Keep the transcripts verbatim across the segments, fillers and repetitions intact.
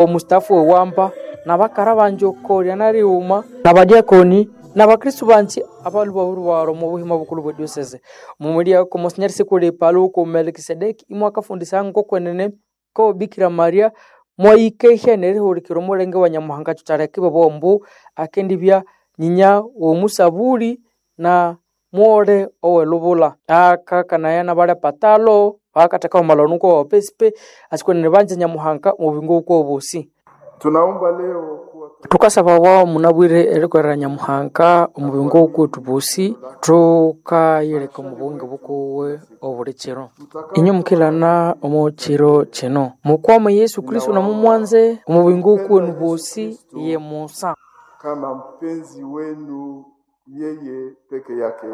Omustafu wewamba nabakara banji okolya narighuma nabadiakoni nabakristu banji abalubahurubaro omu buhima bukulu bwe diocese mumulyako Monsignor Sikuli Paluku Melkisedeki imwakafundisa ngokwenene ko Bikira Maria mwayikehya nerihulikira omulenge wa Nyamuhanga kyukyaleka ibabugha ambu akendibya nyinya w'omusabuli na mwole owelubula akakanaya nabalya patalo bakatheka omalano kwa wapesipe asikwenene banza Nyamuhanga omu buyingo bukwawu bosi. Tunaomba leo kuwa Tukasaba wao munabwire erikolera Nyamuhanga omu buyingo bukwethu bosi thukayileka omu buyingo bukuwe obuli kiro inyo mukilana omu kiro kino mukwame Yesu Kristo namumwanze omu buyingo bukwenu bosi ye Musa kama mpenzi wenu yeye peke yake.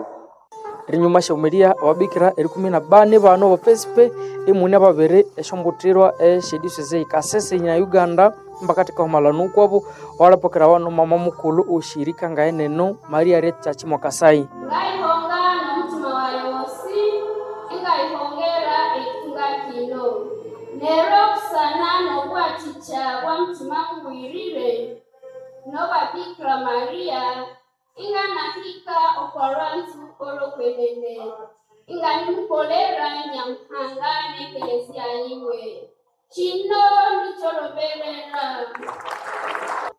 Rinyuma syahumiria ababikira erikumi na bani bano bapesipe imune babiri esyombutirwa esyediocese Kasese na Uganda mbakatheka omalano ukwabo walapokera wano mama mukulhu oshirika ngaeneno Maria Retta Chimwakasai. Ngaihonga n'omutima wayi wosi ingaihongera ekitunga kino neryo busana n'obwathikya bwa mutima mubwirire n'obwa Bikira Maria inganahika okwa lwanzu olw'okwenene inganimukolera Nyamuhanga n'ekelezia yiwe kino nikyoloberera.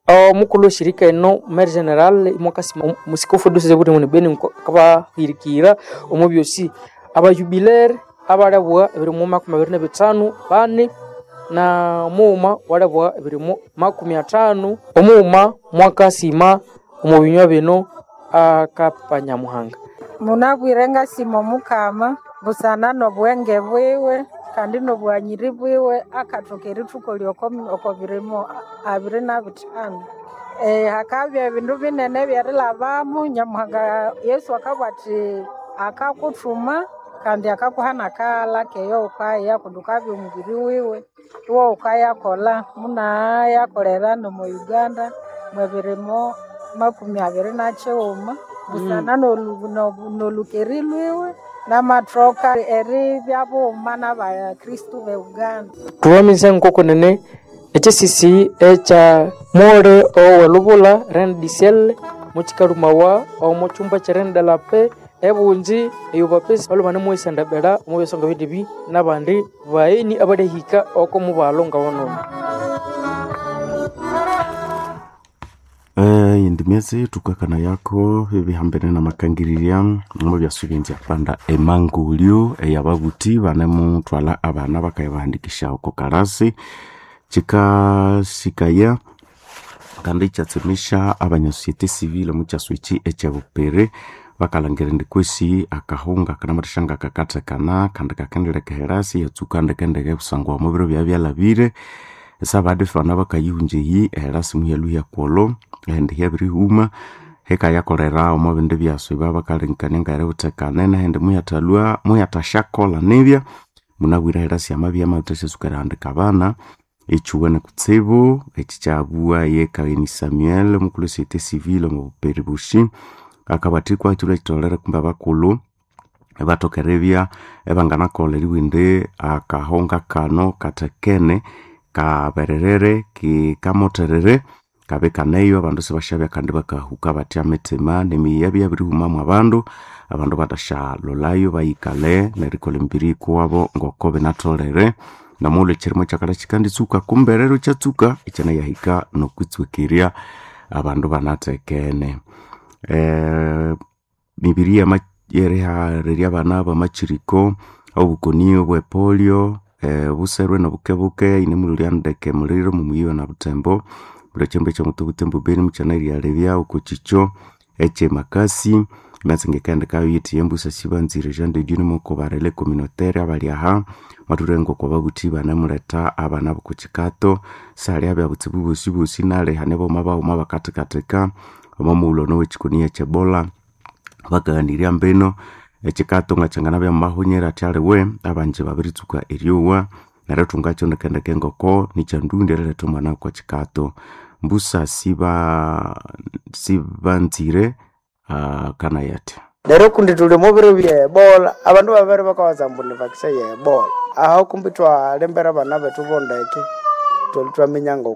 Omukulhu weshirika eno Mary General imwakasima musikofu diocese buri Beni akabahirikira omu byosi abajubilere abalabugha ebirimo makumi abiri na bithanu bani na mughuma walabugha ebirimo makumi athanu omughuma mwakasima omu binywa bino akapa Nyamuhanga. Munabwire ngasima omukama busana n'obwenge bwiwe kandi n'obwanyiri bwiwe akathoka erithukolya oko birimo abiri na bithanu. E, hakabya ebindu binene ebyerilhabamu Nyamuhanga Yesu akabugha athi akakuthuma kandi akakuha nakaghalha keyo wukaya kundi wukabya omubiri wiwe iwe wukayakolha munayakolera n'omo Uganda mwebirimo makumi abiri na kighuma busana n'olhukeri lwiwe namathoka eribya bughuma n'abakristu be Uganda. Thuwamize ngokwenene ekyisisi ekya mwole owelubula Reine du Ciel mukikalumawa omu kyumba kya Reine de la Paix ebunji eyo bapesi balhwe banemuyisandabiira omu byasonga bindibi n'abandi bagheni abalihika oko mubalo ngawanono. Eh, indi myezi tukakana yako ebihambene namakangirirya omu byasubinzya panda emangulyo eyababuthi banemuthwalha abana bakayabahandikisha oko kalasi kikasikaya kandi ikyatsemesya abanya société civile omu kyaswa eki ekyebupere bakalhangira indi kwesi akahunga kanamathisya ngakakathekana kandi kakendileka erasi yatsuka ndekendeke kusangwa omu biro byabya byalhabire esabadifana bakayihunja eyi erasi muhyalhuhya kwolho ehindi hyabirihuma hikayakolera omo bindi byaswa ibabakalengekanaya ngeributhekane nehindi muhyathalhwa muhyathasyakolha nibya munabwire erasi amabya amabirithasyatsuka erihandika abana ekyuwene kutsibu eki kyabugha ye Kaini Samuel omukulhu we société civile omu buperi bushi akabathikwa ekyilwa ekitholere kumbe abakulhu ibathoka eribya ibanganakolha eribugha indi akahunga kano kathekene kabererere kikamotherere kabe kaneyo abandu sibasyabya kandi bakahuka batya mithima nemiyi yabya yabirihumamu abandu abandu bathasyalholayo bayikalhe nerikolha emibiri yikuwabo ngoko binatholere namughulhu ekyirimo kyakalha kyikanditsuka kumbe rero kyatsuka ikyanayahika nokwitswekerya abandu banathekene. Eh, mibiri yama yeriharirya abana bamakyiriko obukoni obwe polio eh, obuserwe nobukebuke yinemulhulya ndeke muliro mumuyiwa na Butembo buli ekyembe ekyomuti Butembo Beni mukyanerialebya oko kikyo ekyemakasi emyatsi ngekendekayo yithi embusa sibanzire Jean de Dieu nimoko barele communautaire abali aha mathulere ngoko babuthi banemuletha abana boko kyikato saliabya butsibu bosi bosi nali hane boma baghuma bakathekatheka omo mughulhu ono owekikoni ekyebola bakaghanirya mbino ekyikato ngakyanganabya mumahonyera athi aliwe abanji babiritsuka eryowa neryo thungakyo ndekendeke ngoko nikyandundi eriletha omwana okwa kyikato mbusa siba sibanzire uh, kanayati Neryo kundi thuli omo biro bye ebola abandu babere bakawaza ambu ni vaccine ye ebola aho kumbi twalembera abana bethu bondeke Twali twaminya ngoko